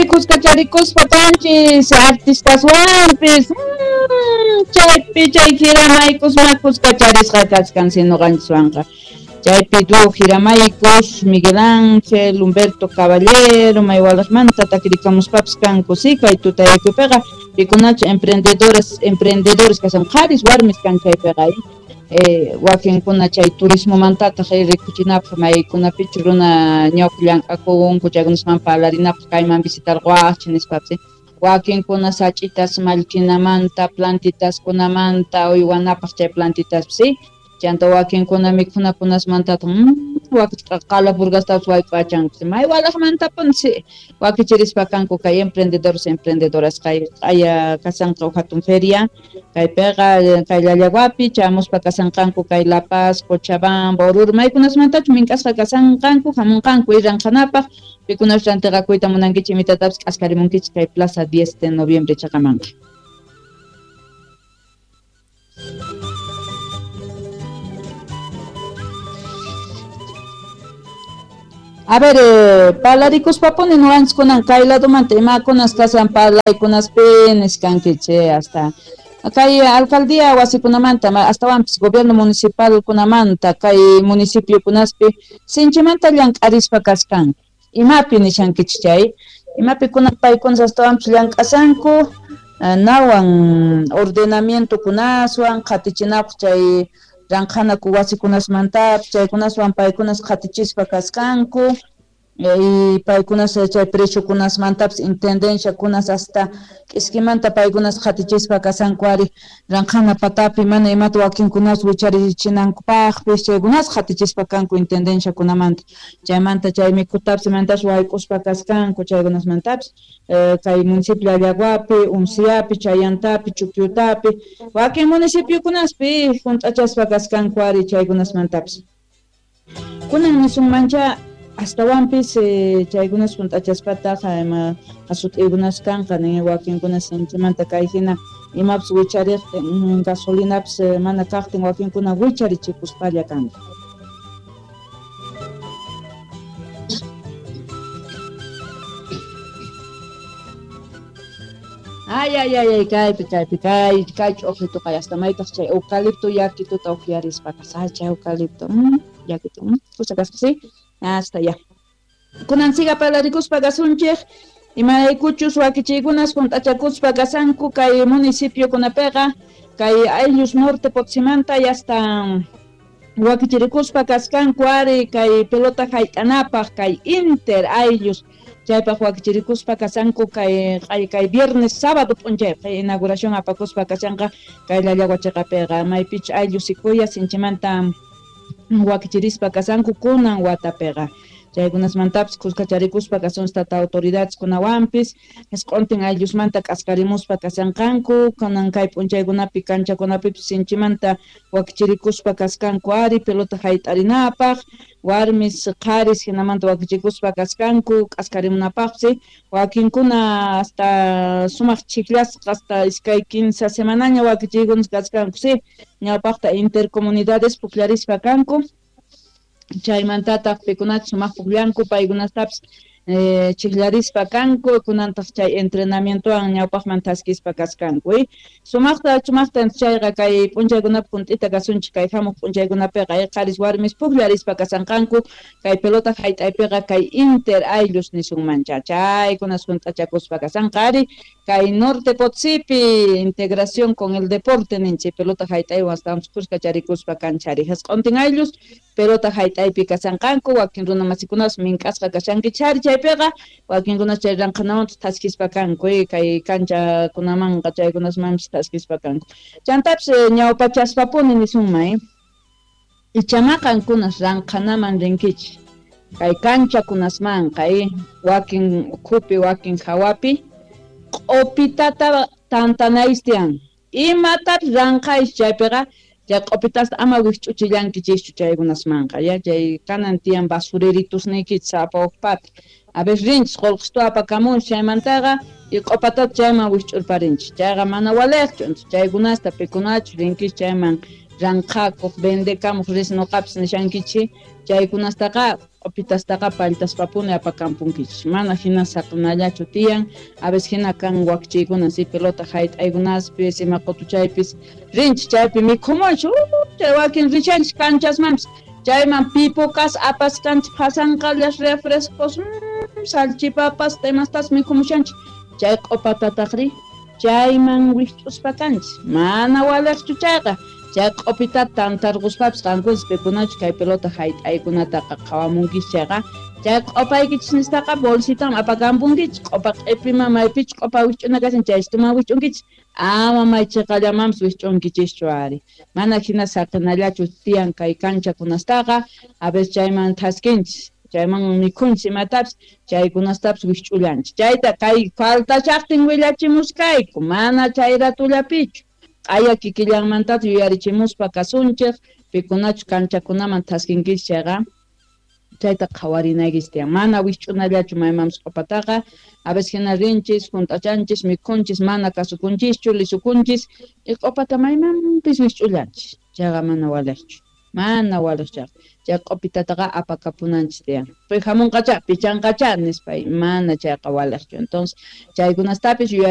Kuskacharikuspa kanchis artistaswanpis chaypi chay jiramaykusma kuskacharisqa kachkan noqanchiswanqa. Chaypi dúo Jiramaykus, Miguel Ángel, Humberto Caballero, maywalaqmanta takirikamuspapis kanku sí kay tutayakuypiqa pikunachu emprendedores kasan qharis warmis kan chaypiqa wakinkuna chay turismomantataq rikuchinapaq maykunapichu runa ñawpa llank'akunku chaykunasman parlarinapaq kayman visitarquwaqchik nispapis wakinkuna sach'itas mallkinamanta plantitaskunamanta uywanapaq chay plantitaspis sí chanta wakinkuna mikhunakunasmantataq qala purgastapis wayk'uwachanku may walaqmantapuni sí wakichirispa kanku kay emprendedores emprendedoras kay q'aya kasanqa huk hatun feria kaypiqa kay Llallaguapi chamuspa kasanqanku kay La Paz, Cochabamba, Oruro maykunasmantachu mink'asqa kasanqanku hamunqanku ranqhanapaq pikunachu rantiqakuyta munankichik imitatapis k'askarimunkichik kay Plaza 10 de Noviembre chaqamanqa. A ver, parlarikuspapuni nuqanchik kay ladomanta imakunas kasan parlaykunaspi niskankichik hasta kay alcaldía wasikunamanta astawanpis gobierno municipalkunamanta kay municipiokunaspi sinchimanta llank'arispa kaskanku imapi nishankichik chay imapi kunan paykunas astawanpis llank'asanku nawan ordenamientokunaswan qhatichinapaq chay ranqhanaku wasikunasmantapis chaykunaswan paykunas qhatichispa kaskanku y paykunas chay preciokunasmantapis intendenciakunas hasta k'iskimanta paykunas qhatichispa kasanku ari ranqhana patapi mana imata wakinkunas wicharichinankupaqpis chaykunas qhatichispa kanku intendenciakunamanta chaymanta chay mikhutapis imantapas wayk'uspa kaskanku chaykunasmantapis kay municipio Llallaguapi, Unciapi, Chayantapi, Chuquiutapi wakin municipiokunaspi hunt'achaspa kaskanku ari chaykunasmantapis kunan nisunmancha astawanpis chaykunas hunt'achaspataq ima asut'iykunas kanqa nin wakinkunas sinchimanta kay hina imapis wichariqtin gasolinapis mana kaqtin wakinkuna wicharichikuspalla kanku. Ay, ay, ay, ay, kaypi, kaypi, kay, kay ch'uqrituqa hasta maytaq chay eucalipto yakituta uqyarispa kasay chay eucalipto yakitu kusa kasqa sí hasta ya. Kunan siga parlarikuspa kasunchik imaraykuchus wakichiykunas hunt'achakuspa kasanku kay municipiokunapiqa kay ayllus norte Potosímanta hasta wakichirikuspa kaskanku ari kay pelota hayt'anapaq kay inter ayllus chaypaq wakichirikuspa kasanku kay kay viernes sábado p'unchaypaq inauguración apakuspa kasanqa kay Llallagua chiqapiqa maypichu ayllus sikuya sinchimanta wakichirispa kasanku kunan watapiqa chaykunasmantapis kuskacharikuspa kasunchik tata autoridades kunawanpis isq'untin ayllusmanta k'askarimuspa kasanqanku kunan kay p'unchaykunapi kanchakunapipis sinchimanta wakichirikuspa kaskanku ari pelota hayt'arinapaq warmis qharis hinamanta wakichikuspa kaskanku k'askarimunapaqsi wakinkuna hasta sumaq chiqllasqa hasta iskay kinsa semanaña wakichiykunas kaskanku sí ñawpaqta intercomunidades pukllarispa kanku chaymantataq pikunachus sumaq pukllanku paykunastapis chiqllarispa kanku kunantaq chay entrenamientowan ñawpaqman thaskispa kaskanku sumaqta sumaqta chayqa kay p'unchaykunapi hunt'ita kasunchik kay hamuq p'unchaykunapiqa qharis warmis pukllarispa kasanqanku kay pelota hayt'aypiqa kay inter ayllus nisunmancha chaykunas hunt'achakuspa kasanqa ari kay norte Potosípi integración con el deporte ninchik pelota hayt'aywan astawanpis kuskacharikuspa kanchari hasq'untin ayllus pelota hayt'aypi kasanqanku wakin runa masikunas mink'asqa kashankichari chaypiqa wakinkunas chay ranqhanamantas thaskispa kanku kay kanchakunamanqa chaykunasmanpis thaskispa kanku chantapis ñawpachaspapuni nisunman ichama qankunas ranqhanaman rinkichik kay kanchakunasmanqa wakin ukhupi wakin hawapi q'upitata tantanaystian imatapis ranqhaysh chaypiqa chay q'upitasta ama wikch'uchillankichikchu chaykunasmanqa ya chay kanan tiyan basureritusniykichik sapa hukpata a ver rinchis qullqistu apakamunchik chaymantaqa y q'upatata chayman wikch'urparinchik chayqa mana waliqchu chaykunasta pikunachu rinkichik chayman Ranqhakuq, vendekamuq ris noqapis nishankichik, chaykunastaqa q'upitastaqa palltaspapuni apakampunkichik. Mana hina saqinallachu tiyan, a veces hina kan wakchiykuna si pelota hayt'aykunaspis, ima qutuchaypis rinchik chaypi mikhumunchik, chay wakin rishanchik kanchasmanpis, chayman pipukas apaskanchik phasanqallas refrescos, salchipapas, imastas mikhumushanchik, chay q'upatataqri chayman wikch'uspa kanchik, mana waliqchu chayqa. Chay q'upitata tantarquspapis qankunas pikunachu kay pelota hayt'aykunataqa qhawamunkichik chayqa, chay q'upaykichis nispaqa bolsitaman apakampunkichik, q'upa q'ipiman maypichus q'upa wikch'una kashan chaystuman wikch'unkichik, ama may chiqallamanpis wikch'unkichischu ari. Mana hina saqinallachu tiyan kay kanchakunastaqa, a veces chayman thaskinchik, chayman mikhunchik imatapis, chaykunastapis wikch'ullanchik. Chayta kay faltashaqtin willachimuskayku, mana chay ratullapichu. Q'aya kikillanmantata yuyarichimuspa kasunchik, pikunachu kanchakunaman thaskinkichik chayqa, chayta qhawarinaykichik tiyan. Mana wikch'unallachu maymanpis q'upataqa, a veces hina rinchis, hunt'achanchis, mikhunchis, mana kasukunchischu, lisukunchis, y q'upata maymanpis wikch'ullanchis. Chayqa mana waliqchu, mana waliq chayqa. Chay q'upitataqa apakapunanchis tiyan. Hamunqacha, pichanqacha nispa, mana chayqa waliqchu. Entonces, chaykunastapis yuyari